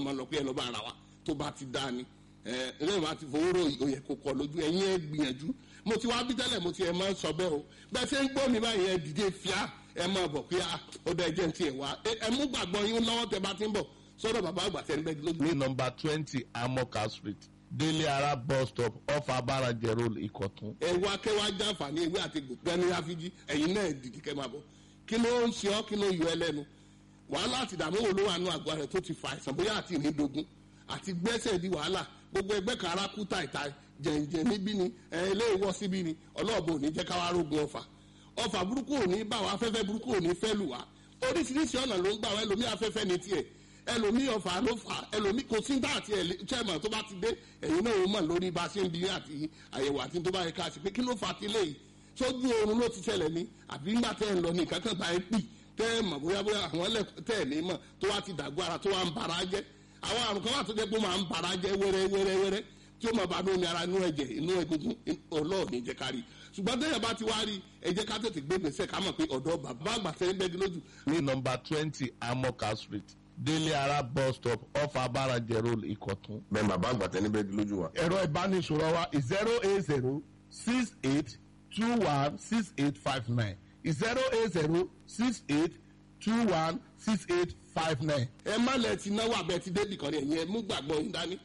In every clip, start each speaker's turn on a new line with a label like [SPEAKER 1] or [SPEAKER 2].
[SPEAKER 1] máa lọ pé ẹ lọ́ bá ara wa tó bá ti dá ni ẹ ẹ bá ti fowó rò òye kò kọ lójú ẹ̀yin ẹ gbìyànjú. Mo ti wá bí tẹ́lẹ̀, mo ti ẹ̀ máa ń sọ bẹ́ẹ̀ o. Bẹ́ẹ̀ ṣe ń gbọ́ mi báyìí, ẹ dìde fíà, ẹ máa bọ̀ pé ó dá ẹjẹ́ ti ẹ̀ wá. Ẹ mú gbàgbọ́ yín lọ́wọ́ tẹ bá ti ń bọ̀ sọ́dọ̀ bàbá àgbà tẹ́ ń bẹ́ lójú.
[SPEAKER 2] Ní nọ́mbà 20 Amoka Street, Délé Ara bus stop, off Abarajẹ Road, Ìkọ̀tún.
[SPEAKER 1] Ẹ wá kẹwàá jàǹfààní ewé àti gbẹ̀ni àfijì. Ẹ̀yin náà dìde kẹ́ máa bọ̀. Kí ló ń ṣe ọ́? Kí ló yọ ẹ lẹ́nu? Wàhálà àti ìdààmú wo ló wà nù àgọ́ rẹ̀ tó ti fa àìsàn, bóyá àti ìrìndògún àti gbẹ́sẹ̀ di wàhálà, gbogbo ẹgbẹ́ kan ara kú tàìtàì, jẹ̀ǹjẹ̀ níbí ni ẹ eléwọ́ síbí ni? Ọlọ́ọ̀bù ò ní jẹ́ káwá rógun ọ̀fà. Ọ̀fà burúkú ò ní bá wa, afẹ́fẹ́ burúkú ò ní fẹ́ lù wá. Oríṣiríṣi ọ̀nà ló ń gbà wá. Ẹlòmí afẹ́fẹ́ ní tiẹ̀, ẹlòmí ọ̀fà ló fà, ẹlòmí kò sí dá àti chairman tó bá ti dé, ẹ̀yin náà ó mọ̀ lórí bá a ṣe ń bi àti àyẹ̀wò àti tó bá yẹ ká ṣe pé kí ló fà á ti léyìí. Sójú oorun ló ti ṣẹlẹ̀ ni, àbí ńgbà tẹ́ ẹ̀ ń lọ ní nǹkan kan bá ẹ pì tẹ́ ẹ mọ̀, bóyá bóyá àwọn ẹlẹ́ tẹ́ ẹ̀ ní mọ̀ tó wá ti dàgbọ́ ara tó wá ń bara jẹ́. Àwọn àrùn kan wà tó jẹ́ pé ó máa ń bara jẹ́ wẹ́rẹ́ wẹ́rẹ́ wẹ́rẹ́, tí ó máa bá lómi ara, inú ẹ̀jẹ̀, inú egungun. Ọlọ́ọ̀ni jẹ́ ká rí. Ṣùgbọ́n téèyàn bá ti wá rí, ẹ jẹ́ ká tètè gbé gbèsè, ká mọ̀ pé ọ̀dọ́ bàbá àgbà tẹ́ ń bẹ́gi lójú.
[SPEAKER 2] Ní nọ́mbà 20 Amoka Street, Délé Ara bus stop, off Abarajẹ Road, Ìkọ̀tún.
[SPEAKER 3] Bẹ́ẹ̀ bàbá àgbà tẹ́ ní bẹ́ẹ̀ lójú wa.
[SPEAKER 2] Ẹ̀rọ ìbánisọ̀rọ̀ wa 08068216859, 08068216859.
[SPEAKER 1] Ẹ má lẹ ti náwó abẹ ti débì kan ní. Ẹ̀yìn ẹ mú gbàgbọ́ yín dání.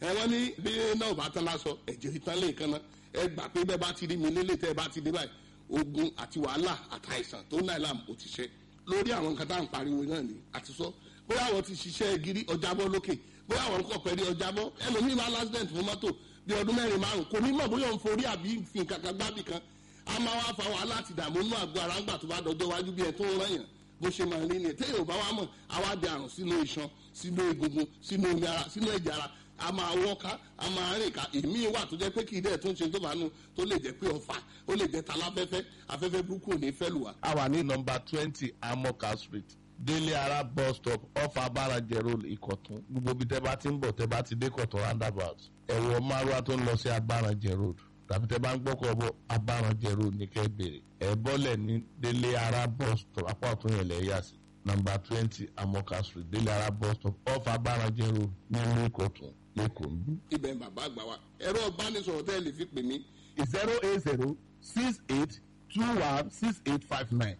[SPEAKER 1] Ẹ wọ́n ní bí náà bá tán lásọ, ẹ̀jẹ̀ ìtàn lè kan náà. Ẹ gbà pé bẹ́ẹ̀ bá ti rí mi lélẹ̀, tẹ́ ẹ bá ti dé báyìí, ogun àti wàhálà àtàìsàn tó náà làm ó ti ṣe lórí àwọn nǹkan tá à ń pariwo náà ni àti sọ. Bóyá àwọn ti ṣiṣẹ́ gírí ọjàbọ́ lókè, bóyá àwọn kọ̀ pẹ̀lú ọjàbọ́. Ẹlòmíì máa lásìdẹ̀ǹtì fún mọ́tò bí ọdún 4, 5, kò ní mọ̀ bóyá òun forí àbí fi nǹkan kan gbábì kan. A máa wá fa wàhálà àti ìdààmú nínú àgọ́ ara ńgbà tó bá dọjọ́ wájú, bí ẹ tó ń rán yàn bó ṣe máa rí ni. Téèyàn ò bá wá mọ̀, àwa di àrùn sínú iṣan, sínú egungun, sínú omi ara, sínú ẹ̀jẹ̀ ara. A máa wọ́ká, a máa rìn ká. Èmi wà tó jẹ́ pé kì í dẹ̀ tó ń ṣe tó bá nu, tó lè jẹ́ pé ọ̀fà, ó lè jẹ́ taláfẹ́fẹ́. Afẹ́fẹ́ burúkú ò ní fẹ́ lù wá.
[SPEAKER 2] A wà ní nọ́mbà 20 Amoka Street, Délé Ara bus stop, off Abarajẹ Road, Ìkọ̀tún. Gbogbo ibi tẹ́ bá ti ń bọ̀, tẹ́ bá ti dé Kọ̀tún roundabout, ẹ̀wọ̀ márùwá tó ń lọ sí Abarajẹ Road, tàbí tẹ́ bá ń gbọ́kọ̀ bọ̀, Abarajẹ Road ní kẹ́ bèrè. Ẹ̀ bọ́lẹ̀ ní Délé Ara bus stop, apá ọ̀tún yẹn lẹ̀ yà sí. Nọ́mbà 20 Amoka Street, Délé Ara bus stop, off Abarajẹ Road, nílùú Ìkọ̀tún lẹ́kọ̀ọ́ ń bí.
[SPEAKER 1] Ibẹ̀ ń bàbá àgbà wa. Ẹ̀rọ ìbánisọ̀rọ̀ tẹ́ ẹ lè fi pè mí:
[SPEAKER 2] 08068216859,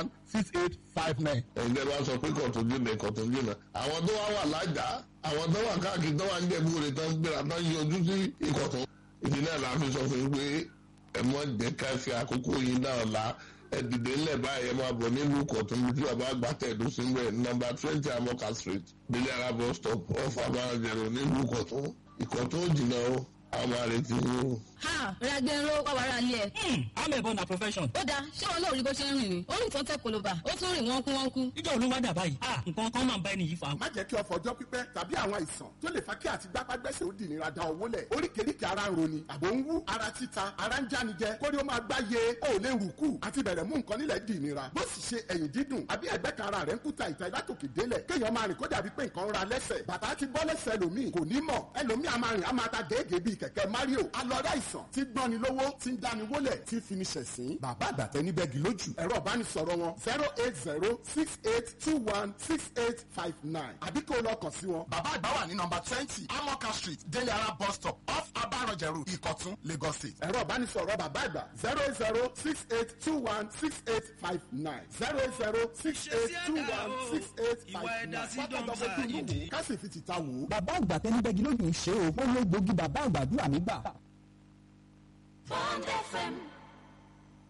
[SPEAKER 2] 08068216859.
[SPEAKER 3] Ẹ̀yin tẹ́ bá sọ pé Kọ̀tún jìnnà, Ìkọ̀tún jìnnà, àwọn tó wá wà lájà, àwọn tó wà káàkiri, tó wà ń jẹ̀bú rẹ̀, tó ń gbéra, tó ń yọjú sí Ìkọ̀tún. Ìdí náà la fi sọ fún yín pé ẹ mọ jẹ́ ká fi àkókò yín náà la. Ẹ dìde ńlẹ̀ báyìí, ẹ máa bọ̀ nílùú Ìkọ̀tún bí tí bàbá àgbà tẹ̀dó sí ń bẹ̀, nọ́mbà 20 Amoka Street, Délé Ara bus stop, off Abarajẹ Road, nílùú Ìkọ̀tún. Ìkọ̀tún ò jìnnà o, àwọn àrètí yín o.
[SPEAKER 4] Ha, ragbenro wà wàrà ilé ẹ.
[SPEAKER 5] Amẹ̀bọ na profession.
[SPEAKER 4] Ó dáa, ṣé wọn náà rí bó ṣe ń rìn ni? Ó rìn tán tẹ koloba, ó tún rìn wọ́n kú wọ́n kú.
[SPEAKER 5] Ìjọ olúwa dà báyìí. Ah, nǹkan kan máa ń bá ẹni yìí fa.
[SPEAKER 6] Má jẹ́ kí ọ̀fọ̀ ọjọ́ pípẹ́ tàbí àwọn àìsàn tó lè fa kí àti gbápágbẹ́sẹ̀ ó di ìnira da owó lẹ̀. Oríkèéríkèé ara ń roni, àbò ń wú, ara títa, ara ń jánijẹ, kórí ó máa gbá ye, ó lè rù kù, àti bẹ̀rẹ̀ mú nǹkan nílẹ̀ di ìnira. Bó sì ṣe ẹ̀yìn dídùn àbí ẹ̀gbẹ́ kan ara rẹ̀ ń kúta ìta látòkè délẹ̀, kéèyàn máa rìn kó dàbí pé nǹkan ń ra lẹ́sẹ̀. Bàtà ti bọ́ lẹ́sẹ̀ ẹlòmíì, kò ní mọ̀. Ẹlòmíì a máa rìn, a máa ta gèégèé bíi kẹ̀kẹ́ Mario. Alọ́rẹ́ àìsàn tí gbọ́ni lówó, tí ń dáni wólẹ̀, tí fi ni ṣẹ̀sín. Bàbá àgbàtẹ́ níbẹ̀ gì lójú. Ẹ̀rọ ìbánisọ̀rọ̀ wọn 08068216859, àbí kó o lọ kàn sí wọn.
[SPEAKER 7] Bàbá àgbà wà ní nọ́mbà 20 Amoka Street, Délé Ara bus stop, off Abarajẹ Road, Ìkọ̀tún, Lagos State.
[SPEAKER 6] Ẹ̀rọ ìbánisọ̀rọ̀ bàbá àgbà 08068216859, 08068216859. Pátákó inú wò ká sì fi tìta wò ó.
[SPEAKER 8] Bàbá àgbà tẹnibẹ́gi lójú ń ṣe o. Ó ló gbòógì bàbá àgbàdúrà mi gbà.
[SPEAKER 9] Bond FM.